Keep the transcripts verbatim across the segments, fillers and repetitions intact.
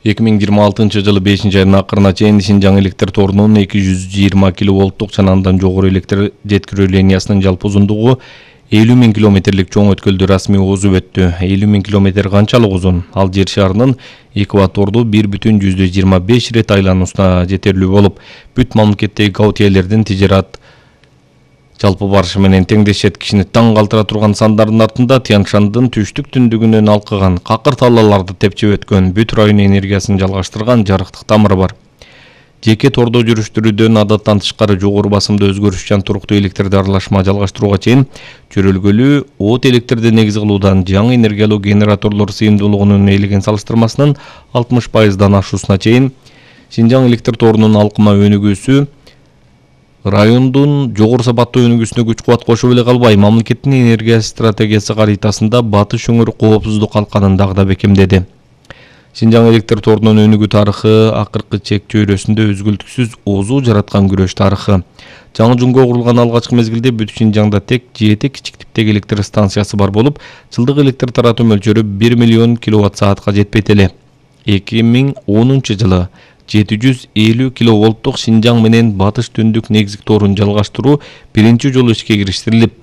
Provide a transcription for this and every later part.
эки миң жыйырма алтынчы жылы бешинчи айдын акырына чейин Шинжаң электр торунун эки жүз жыйырма киловолттук жана андан жогору электр жеткирүү линиясынын жалпы узундугу элүү миң километрлик чоң өткөлдү расмий озуп өттү. элүү миң километр канчалык узун? Ал жер шарынын экваторду бир бүтүн жүздөн жыйырма беш ирет айлануусуна жетерлүү болуп, бүт мамлекеттеги Гаутиелердин тижерат жалпы барышы менен теңдешет. Кишини таң калтыра турган сандардын артында Тянь-Шандын түштүк түндүгүнөн алкыган, какыр таллаларды тепчип өткөн, бүт район энергиясын жалгаштырган жарыктык тамыры бар. Жеке тордо жүрүштүрүүдөн адаттан тышкары жогору басымда өзгөрүшчан туруктуу электрди аралашма жалгаштырууга чейин чөрөлгөлүү от электрди негиз кылуудан жаңы энергиялуу генераторлор сыйымдуулугунун ээлеген салыштырмасынын алтымыш пайыздан ашуусуна чейин Шинжаң электр торунун алкыма өнүгүүсү райондун жогору сапаттуу өнүгүүсүнө күч кубат кошуп эле калбай, мамлекеттин энергия стратегиясы каритасында батыш өңүрү коопсуздук калканын дагы да бекемдеди. Шинжаң электр торунун өнүгүү тарыхы акыркы чек чөйрөсүндө өзгөлтүксүз озуу жараткан күрөш тарыхы. Жаңы жумго курулган алгачкы мезгилде бүт Шинжаңда тек жети кичик типтеги электр станциясы бар болуп, жылдык электр таратуу мөлчөрү бир миллион киловатт саатка жетпейт эле. эки миң онунчу жылы жети жүз элүү киловолттук Шинжаң менен батыш түндүк негизги торун жалгаштыруу биринчи жолу ишке кириштирилип,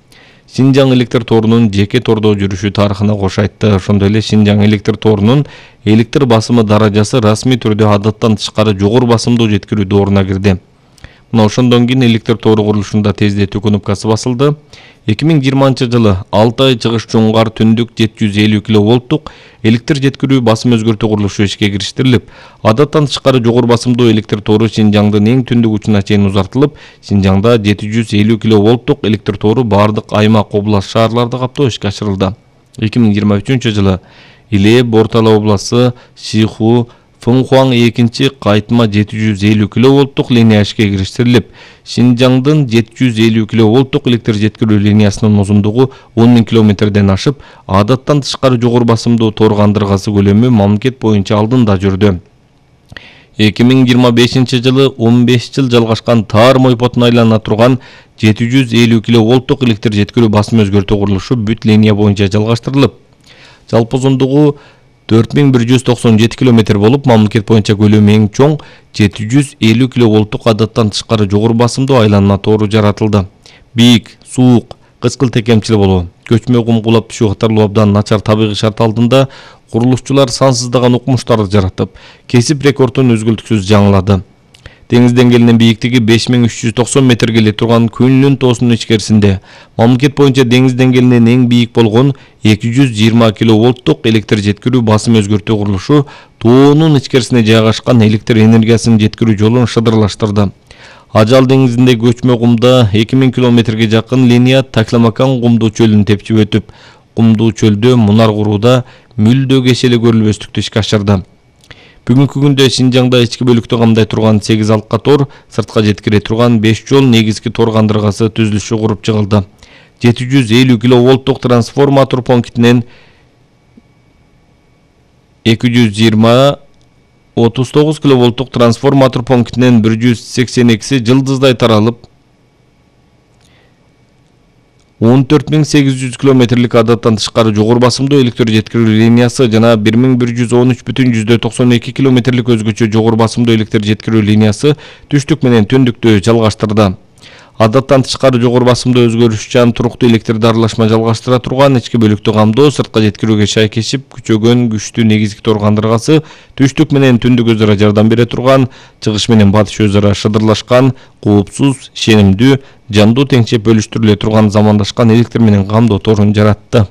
Шинжаң электр торунун жеке тордо жүрүшү тарыхына кош айтты. Ошондой эле Шинжаң электр торунун электр басымы даражасы расмий түрдө адаттан тышкары жогору басымдуу жеткирүү дооруна кирди. Мына ошондон кийин электр тору курулушунда тездетүү кнопкасы басылды. эки миң жыйырманчы жылы алты ай чыгыш жуңгар түндүк жети жүз элүү киловолттук электр жеткирүү басым өзгөртүү курулушу ишке кириштирилип, адаттан тышкары жогору басымдуу электр тору Шинжаңдын эң түндүк учуна чейин узартылып, Шинжаңда жети жүз элүү киловолттук электр тору бардык аймак, область, шаарларды каптоо ишке ашырылды. эки миң жыйырма үчүнчү жылы Иле, Бортала областы, Шиху, Фыңхуаң экинчи кайтма жети жүз элүү киловолттук линия ишке кириштирилип, Шинжаңдын жети жүз элүү киловолттук электр жеткирүү линиясынын узундугу он миң километрден ашып, адаттан тышкары жогору басымдуу тор кандыргасы көлөмү мамлекет боюнча алдында жүрдү. эки миң жыйырма бешинчи жылы он беш жыл жалгашкан таар мойпотун айлана турган жети жүз элүү киловолттук электр жеткирүү басым өзгөртүү курулушу бүт линия боюнча жалгаштырылып, жалпы узундугу төрт миң бир жүз токсон жети километр болуп, мамлекет боюнча көлөмү эң чоң жети жүз элүү киловолттук адаттан тышкары жогору басымдуу айланма тору жаратылды. Бийик, суук, кычкыл текемчил болуу, көчмө кум кулап түшүү катарлуу абдан начар табигый шарт алдында курулушчулар сансыздаган укмуштарды жаратып, кесип рекордун өзгөлтүксүз жаңылады. Деңиз деңгээлинин бийиктиги беш миң үч жүз токсон метрге келе турган Күнлүн тоосунун ичкерисинде мамлекет боюнча деңиз деңгээлинен эң бийик болгон эки жүз жыйырма киловолттук электр жеткирүү басым өзгөртүү курулушу тоонун ичкерисине жайгашкан электр энергиясынын жеткирүү жолун шыдырлаштырды. Ажал деңизиндеги көчмө кумда эки миң километрге жакын линия Такламакан кумдуу чөлүн тепчип өтүп, кумдуу чөлдө мунар куруудаа мүлдө кешеле көрүлбөстүктү ишке ашырды. Бүгүнкү күндө Шинжаңда ички бөлүктү камдай турган сегиз алка тор, сыртка жеткире турган беш жол негизги тор кандыргасы түзүлүшү куруп чыгылды. жети жүз элүү киловолттук трансформатор пунктинен эки жүз жыйырма отуз тогуз киловолттук трансформатор пунктинен бир жүз сексен экиси жылдыздай таралып, он төрт миң сегиз жүз километрлик адаттан тышкары жогору басымдуу электр жеткирүү линиясы жана бир миң бир жүз он үч бүтүн жүздөн токсон эки километрлик өзгөчө жогору басымдуу электр жеткирүү линиясы түштүк менен түндүктү жалгаштырды. Адаттан тышкары жогору басымдуу өзгөрүшчан туруктуу электрди аралашма жалгаштыра турган ички бөлүктү камдоо, сыртка жеткирүүгө шайкешип күчөгөн күчтүү негизги тор кандыргасы, түштүк менен түндүк өзара жардам бере турган, чыгыш менен батыш өзара шыдырлашкан, коопсуз, ишенимдүү, жандуу теңшеп бөлүштүрүлө турган замандашкан электр менен камдоо торун жаратты.